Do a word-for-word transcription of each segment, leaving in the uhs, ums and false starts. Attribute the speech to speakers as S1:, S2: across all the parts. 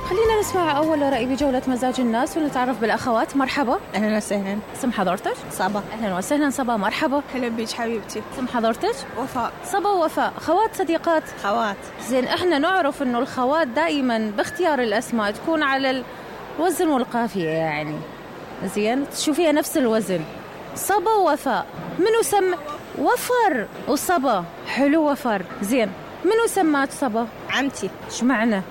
S1: خلينا نسمع أول رأي بجولة مزاج الناس ونتعرف بالأخوات. مرحبا.
S2: أهلا وسهلا.
S1: اسم حضرتك؟
S2: صبا.
S1: أهلا وسهلا صبا، مرحبا.
S3: هلا بيك حبيبتي.
S1: اسم حضرتك؟
S3: وفاء.
S1: صبا ووفاء، خوات صديقات؟
S2: خوات.
S1: زين، احنا نعرف إنه الخوات دائما باختيار الأسماء تكون على الوزن والقافية، يعني زين تشوفيها نفس الوزن. صبا ووفاء، منو سم وفر وصبا؟ حلو وفر. زين، منو سمات صبا؟
S2: عمتي.
S1: شو معنى؟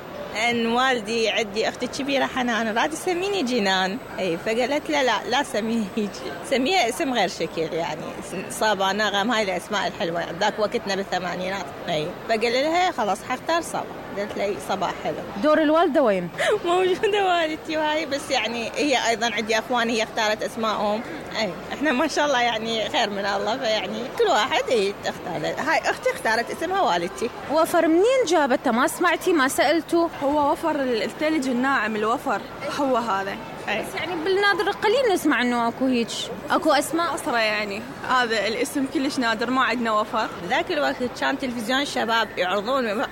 S2: ان والدي عندي اختي الكبيره حنان راد تسميني جنان، اي فقالت لا لا لا سميها هيك، سميها اسم غير شكل، يعني صبا نغم، هاي الاسماء الحلوه يعني ذاك وقتنا بالثمانينات. اي فقال لها خلاص حختار صبا، قالت لي صبا حلو.
S1: دور الوالده وين؟
S2: موجوده والدتي وهاي، بس يعني هي ايضا عندي اخوان هي اختارت اسمائهم. اي احنا ما شاء الله يعني خير من الله، فيعني كل واحد اي تختار. هاي اختي اختارت اسمها والدتي.
S1: وفر منين جابتها؟ ما سمعتي؟ ما سالتوا؟
S3: هو وفر الثلج الناعم، الوفر هو هذا.
S1: أي. بس يعني بالنادر قليل نسمع انه اكو هيك اكو اسماء
S3: أسرة، يعني هذا الاسم كلش نادر، ما عندنا وفر.
S2: ذاك الوقت كان تلفزيون الشباب يعرضون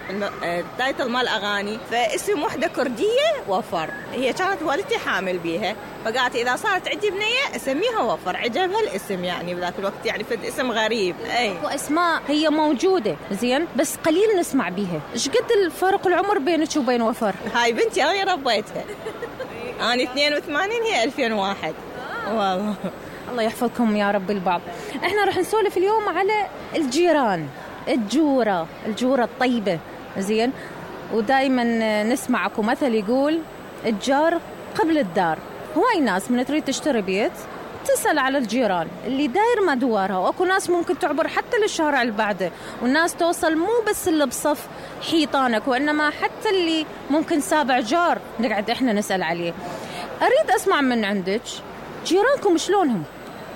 S2: التايتل مال اغاني، فاسم وحده كرديه وفر، هي كانت والدتي حامل بيها، فقالت اذا صارت عندي بنيه اسميها وفر، عجبها الاسم يعني بذاك الوقت، يعني فد اسم غريب. اي
S1: اكو اسماء هي موجوده زين بس قليل نسمع بيها. ايش قد الفرق العمر بينك وبين وفر؟
S2: هاي بنتي انا ربيتها، انا اثنين وثمانين هي ألفين وواحد. والله
S1: الله يحفظكم يا رب البعض. احنا رح نسولف اليوم على الجيران، الجوره، الجوره الطيبه زين. ودائما نسمع اكو مثل يقول الجار قبل الدار. هواي ناس من تريد تشتري بيت تسأل على الجيران اللي داير مدوارها، واكو ناس ممكن تعبر حتى للشارع اللي بعده، والناس توصل مو بس اللي بصف حيطانك وإنما حتى اللي ممكن سابع جار نقعد احنا نسأل عليه. اريد اسمع من عندك جيرانكم شلونهم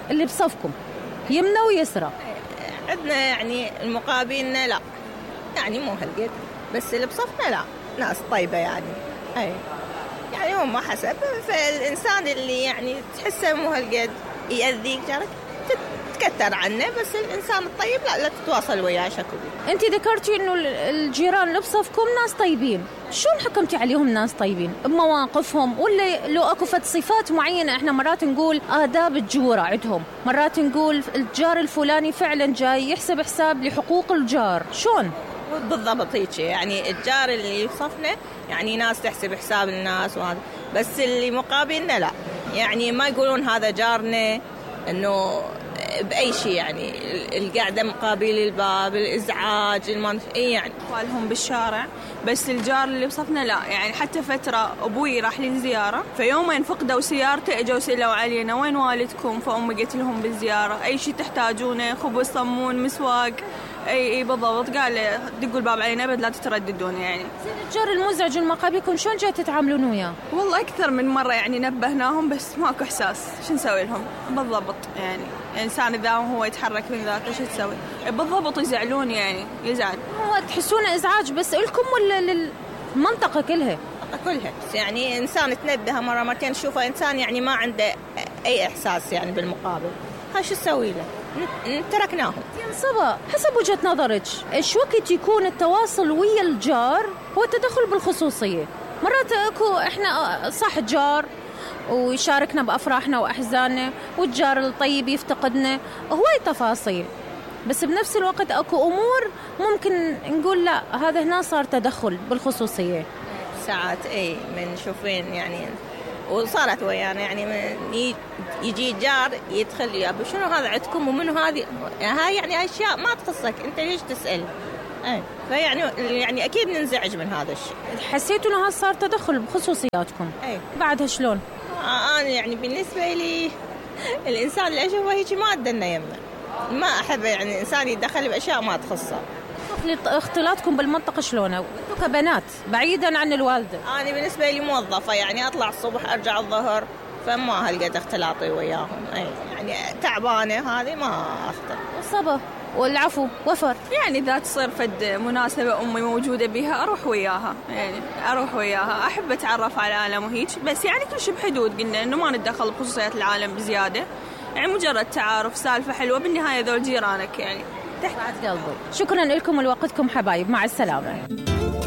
S1: اللي بصفكم يمنى ويسرى؟
S2: عندنا يعني المقابلنا لا يعني مو هالقد، بس اللي بصفنا لا ناس طيبة يعني. اي يعني هم حسب، فالإنسان اللي يعني تحسه مو هالقد يأذيك جارك تكتر عنه، بس الإنسان الطيب لا لا تتواصل وياه شكله.
S1: أنت ذكرتي إنه الجيران اللي بصفكم ناس طيبين، شلون حكمتي عليهم ناس طيبين؟ بمواقفهم ولا لو أكو فد صفات معينة؟ إحنا مرات نقول آداب الجورة عندهم، مرات نقول الجار الفلاني فعلا جاي يحسب حساب لحقوق الجار، شلون؟
S2: بالضبط هيك، يعني الجار اللي يصفنا يعني ناس تحسب حساب الناس وهذا، بس اللي مقابلنا لا، يعني ما يقولون هذا جارنا انه باي شيء، يعني القعده مقابل الباب، الازعاج، المنف... اي يعني
S3: اطفالهم بالشارع. بس الجار اللي بصفنا لا، يعني حتى فتره ابوي راح لي زياره، فيومين فقدوا سيارته اجوا سالوا علينا وين والدكم، فامي قلت لهم بالزياره اي شيء تحتاجونه، خبز صمون مسواق اي اي بالضبط، قال دقوا الباب علينا بد لا تترددون. يعني
S1: الجار المزعج المقابلكم شلون جاي تتعاملون وياه؟
S3: والله اكثر من مره يعني نبهناهم بس ماكو احساس، شو نسوي لهم بالضبط؟ يعني الانسان اذا هو يتحرك من ذاته شو تسوي بالضبط؟ يزعلون يعني يزعل.
S1: هو تحسونه ازعاج بس لكم ولا للمنطقه كلها؟
S2: كلها، يعني انسان تنبه مره مرتين تشوفه انسان يعني ما عنده اي احساس يعني بالمقابل، ها شو تسوي له؟ تركناهم.
S1: صبا، حسب وجهة نظرك ايش وقت يكون التواصل ويا الجار هو التدخل بالخصوصية؟ مرات اكو احنا صح جار ويشاركنا بافراحنا واحزاننا، والجار الطيب يفتقدنا، هواي تفاصيل، بس بنفس الوقت اكو امور ممكن نقول لا هذا هنا صار تدخل بالخصوصية.
S2: ساعات اي من شوفين يعني وصارت ويانا يعني من يجي جار يدخل يا ابو شنو هذا عندكم ومنو هذه، هاي يعني اشياء ما تخصك انت ليش تسال؟ اي فيعني يعني اكيد ننزعج من هذا الشيء.
S1: حسيتوا انه هذا صار تدخل بخصوصياتكم؟
S2: اي
S1: بعدها شلون؟
S2: انا يعني بالنسبه لي الانسان اللي اشوفه هيك ما ادنا يمه، ما احب يعني الانسان يتدخل باشياء ما تخصه.
S1: اختلاطكم بالمنطقة شلونه؟ انتوا كبنات بعيدا عن الوالدة.
S2: أنا بالنسبة لي موظفة يعني أطلع الصبح أرجع الظهر، فما هلقد اختلاطي وياهم. أي يعني تعبانة هذه ما أختلط.
S1: صبا والعفو وفر،
S3: يعني إذا تصير فد مناسبة أمي موجودة بها أروح وياها، يعني أروح وياها أحب أتعرف على العالم وهيك، بس يعني كل شيء بحدود، قلنا إنه ما نتدخل بخصوصيات العالم بزيادة، يعني مجرد تعارف سالفة حلوة، بالنهاية ذول جيرانك يعني تحت
S1: قلبي. شكرا لكم ولوقتكم حبايب، مع السلامة.